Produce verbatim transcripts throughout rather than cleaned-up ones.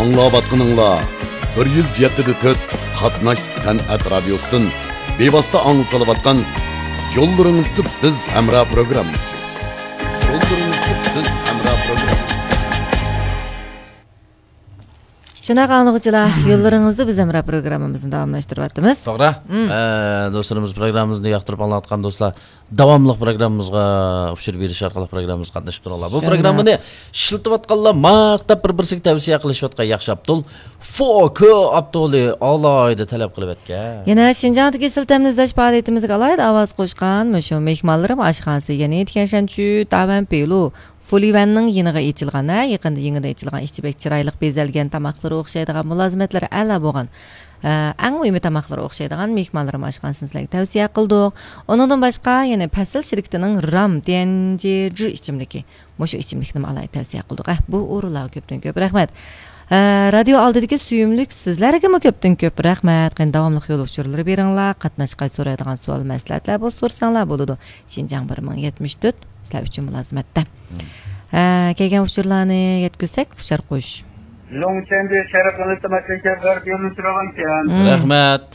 ئاڭلاۋاتقىنىڭلار بىر يۈز يەتتە دە تۆت قاتناش سەنئەت رادىيوسىدىن بىۋاسىتە ئاڭلىتىلىۋاتقان يوللىرىڭىزدا بىز ھەمراھ پروگراممىسى. يوللىرىڭىزدا بىز ھەمراھ پروگراممىسى. شۇنداق ئاڭلىغۇچىلار، يوللىرىڭىزدا بىز ھەمراھ پروگراممىمىزنى داۋاملاشتۇرۇۋاتىمىز. توغرا. مم. ئە، دوستلىرىمىز، پروگراممىمىزنى ياقتۇرۇپ ئاڭلاۋاتقان دوستلار، داۋاملىق پروگراممىمىزغا ئۇچۇر بېرىش ئارقىلىق پروگراممىمىزغا قاتنىشىپ تۇرۇڭلار. بۇ شۇنداق. پروگراممىنى ئىشلىتىۋاتقانلار ماختاپ بىر-بىرسىگە تەۋسىيە قىلىشىۋاتقان ياخشى ئابدۇل، فوكو ئابدۇلى ئالاھىدە تەلەپ قىلىۋەتكەن. يەنە شىنجاڭدىكى سىلتەمنى ئىزدەش پائالىيىتىمىزگە ئالاھىدە ئاۋاز قوشقان مۇشۇ مېھمانلىرىم ئاشخانىسى، يەنى تيەنشەنچۈ تاۋەن پېلۇ فۇلىۋەننىڭ يېنىغا ئېچىلغان، ھە، يېقىندا يېڭىدىن ئېچىلغان ئىچى بەك چىرايلىق بېزەلگەن، تاماقلىرى ئوخشايدىغان، مۇلازىمەتلىرى ئەلا بولغان، ئە، ئەڭ مۇھىمى تاماقلىرى ئوخشايدىغان مېھمانلىرىم ئاشخانىسىنى سىلەرگە تەۋسىيە قىلدۇق. ئۇنىڭدىن باشقا يەنە پەسىل شىركىتىنىڭ رام تيەنجىجى ئىچىملىكى، مۇشۇ ئىچىملىكنىمۇ ئالاھىدە تەۋسىيە قىلدۇق. ئە، بۇ ئورۇنلارغا كۆپتىن كۆپ رەھمەت. ئە، رادىيو ئالدىدىكى سۆيۈملۈك سىزلەرگىمۇ كۆپتىن كۆپ رەھمەت. قېنى داۋاملىق يول ئۇچۇرلىرى بېرىڭلار، قاتناشقا سورايدىغان سوئال مەسلىھەتلەر بولسا سورىساڭلار بولىدۇ. شىنجاڭ بىر مىڭ يەتمىش تۆت، سىلەر ئۈچۈن مۇلازىمەتتە. ھە، كەلگەن ئۇچۇرلارنى يەتكۈزسەك، ئۇچار قوش. لوڭچەندە شەرقىي تاماشىچىلار بىلەن سورىغانكەن. مم. رەھمەت.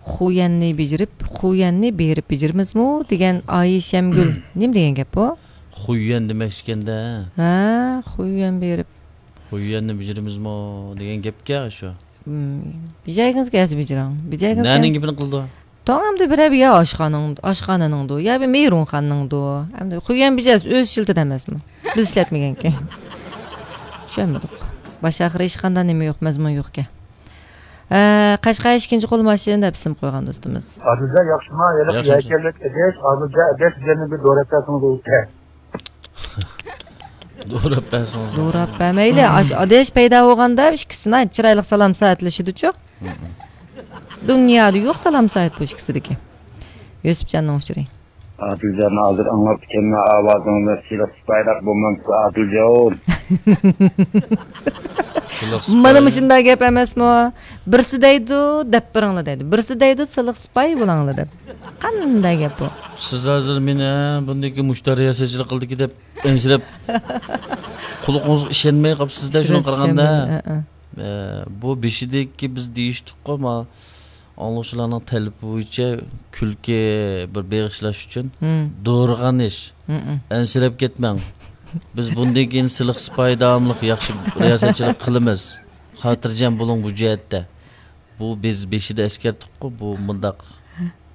خۇيۈەننى بېجىرىپ، خۇيۈەننى بېرىپ بېجىرىمىزمۇ دېگەن ئايشەمگۈل. نېمە دېگەن گەپ بۇ؟ خۇيۈەن دېمەكچىكەندە. ھە، خۇيۈەن بېرىپ. خۇيۈەننى بېجىرىمىزمۇ دېگەن گەپكەن شۇ. مم، بېجەرگىنىز كەلسە بېجىرىڭ. بېجەرگىنىز نەنىڭ كەلسە گېپىنى قىلىدۇ؟ توڭ ئەمدى بىرەر يا ئاشخانىنىڭ، ئاشخانىنىڭدۇ، يا بىر مېيرۇنخاننىڭدۇ. ئەمدى خۇيۈەن بېجەرسە ئۆزى ئىشلىتىدۇ ئەمەسمۇ؟ بىز ئىشلەتمىگەنكەن. چۈشەنمىدۇق. باش ئاخىرى ھېچقانداق نېمە يوق، مەزمۇن يوقكەن. ئە، قەشقەر ئىككىنچى قول ماشىنا دەپ ئىسىم قويغان دوستىمىز. ئادىلجان ياخشىما؟ ھېلىقى ياخشى. يەكەنلىك ئىدىش، ئادىلجان ئىدىش دېگەننى بىر دوراپ بەرسىڭىز بولىدىكەن. دوراپ بەرسىڭىز. دوراپ بەرمەيلى. ئاش-، ئادەش پەيدا بولغاندا ئىككىسىنى چىرايلىق سالام سائەتلىشىدۇچۇ. دۇنيادا يوق سالام سائەت بۇ ئىككىسىدىكى. يۈسۈپجاننىڭ ئۇچۇرى. ئادىلجان، ھازىر ئاڭلاپتىكەنمەن ئاۋازىڭنى، سىلىق سىپايىلىق بولمامسىز ئادىلجان؟ سىلىق سىپايى. مانا مۇشۇنداق گەپ ئەمەسمۇ؟ بىرسى دەيدۇ، دەپ بېرىڭلار دەيدۇ. بىرسى دەيدۇ، سىلىق سىپايى بولۇڭلار دەپ. قانداق گەپ بۇ؟ سىز ھازىر مېنى، ھە، بۇندىكى مۇشتەرى رىياسەتچىلىك قىلدىكى دەپ ئەنسىرەپ، قۇلىقىڭىزغا ئىشەنمەي قاپسىز-دە، شۇنىڭغا قارىغاندا. ئە، ئە. ئە، بۇ بېشىدىكى بىز دېيىشتۇققۇ، ما، ئاڭلىغۇچىلارنىڭ تەلىپى بويىچە كۈلكە بىر بېغىشلاش ئۈچۈن، مم، دورىغان ئىش، مم، ئەنسىرەپ كەتمەڭ. بىز بۇندىن كېيىن سىلىق سىپايى داۋاملىق ياخشى رىياسەتچىلىك قىلىمىز. خاتىرجەم بولۇڭ بۇ جەھەتتە. بۇ بىز بېشىدا ئەسكەرتتۇققۇ، بۇ مۇنداق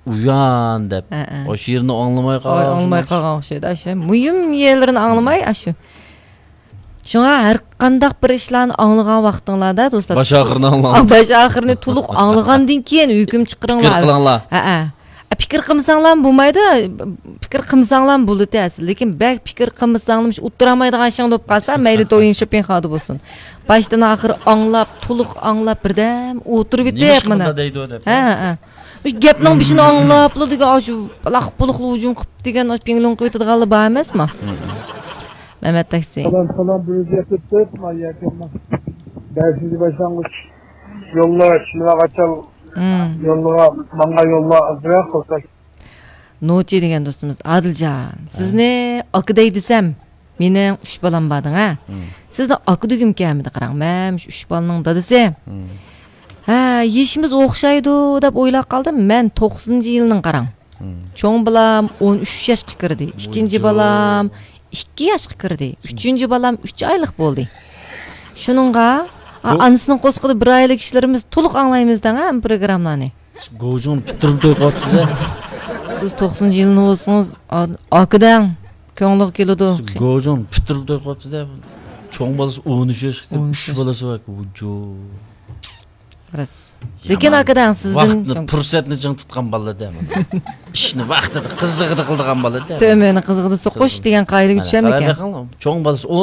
ئۇيان دەپ. ھە، ھە. ئاشۇ يېرىنى ئاڭلىماي قالغان ئاڭلىماي قالغان ئوخشايدۇ، ئاشۇ مۇھىم يەرلىرىنى ئاڭلىماي، ئاشۇ. شۇڭا ھەر قانداق بىر ئىشلارنى ئاڭلىغان ۋاقتىڭلاردا، دوستلار، باش ئاخىرىنى ئاڭلاڭ. باش ئاخىرىنى تولۇق ئاڭلىغاندىن كېيىن ھۆكۈم چىقىرىڭلار. پىكىر قىلىڭلار. ھە، ھە. پىكىر قىلمىساڭلارمۇ بولمايدۇ. پىكىر قىلمىساڭلارمۇ بولىدۇ ئەسلى. لېكىن بەك پىكىر قىلمىساڭلار، مۇشۇ ئولتۇرالمايدىغان ئىشىڭ بولۇپ قالسا، مەيلى تويۇن شوپىڭ خادا بولسۇن. باشتىن ئاخىر ئاڭلاپ، تولۇق ئاڭلاپ، بىردەم ئولتۇرۇۋېتىپ مانا. نېمىشقا مۇنداق دەيدۇ دەپ. ھە، ھە، ھە. مۇشۇ گەپنىڭ بېشىنى ئاڭلاپلا دېگەن، ئاشۇ لاق پۇلۇقلا ھۇجۇم قىلىپ دېگەن، ئاشۇ پىڭلۇڭ قىلىۋېتىدىغانلار بار ئەمەسمۇ؟ مەمەت تاكسى. سالام، سالام، بىر يۈز يەتتە تۆت، ما يەكەنمە. بەشىنچى باشلانغۇچ يوللار، شىنۋاغا چال يوللىغا، ماڭا يوللار ئازراق قىلسا. نوچى دېگەن دوستىمىز، ئادىلجان، سىزنى ئاكا دەي دېسەم، مېنىڭ ئۈچ بالام بار دەڭ، ھە؟ سىزنى ئاكا دېگۈم كەلمىدى، قاراڭ، مەن مۇشۇ ئۈچ بالىنىڭ دادىسى. ھە، يېشىمىز ئوخشايدۇ دەپ ئويلاپ قالدىم. مەن توقسىنىنچى يىلنىڭ، قاراڭ. چوڭ بالام ئون ئۈچ ياشقا كىردى. ئىككىنچى بالام ئىككى ياشقا كىردى. ئۈچىنچى بالام ئۈچ ئايلىق بولدى. شۇنىڭغا، ئا-، ئانىسىنىڭ قورسىقىدا بىر ئايلىق كىشىلىرىمىز تولۇق ئاڭلايمىز دەڭ، ھە، پروگراممىلارنى. گوجۇڭنى پۈتتۈرۈپ توي قىلىۋاتىسىز، ھە؟ سىز توقسىنىنچى يىلنى بولسىڭىز، ئا-، ئاكا دەڭ، كۆڭلىگە كېلىدۇ. سىز گوجۇڭنى پۈتتۈرۈپ توي قىلىۋاتىسىز، ھە؟ چوڭ بالىسى ئون ئۈچ ياشقا كىرىپ، ئۈچ بالىسى بار. ۋۇجۇ. راست. لېكىن ئاكا دەڭ، سىزدىن ۋاقىتنى، پۇرسەتنى چىڭ تۇتقان بالىدە، مانا. ئىشنى ۋاقتىدا، قىزىقىدا قىلىدىغان بالىدە. تۆمۈرنى قىزىقىدا سوقۇش دېگەن قائىدىگە چۈشەنمىكەن؟ چوڭ بالىسى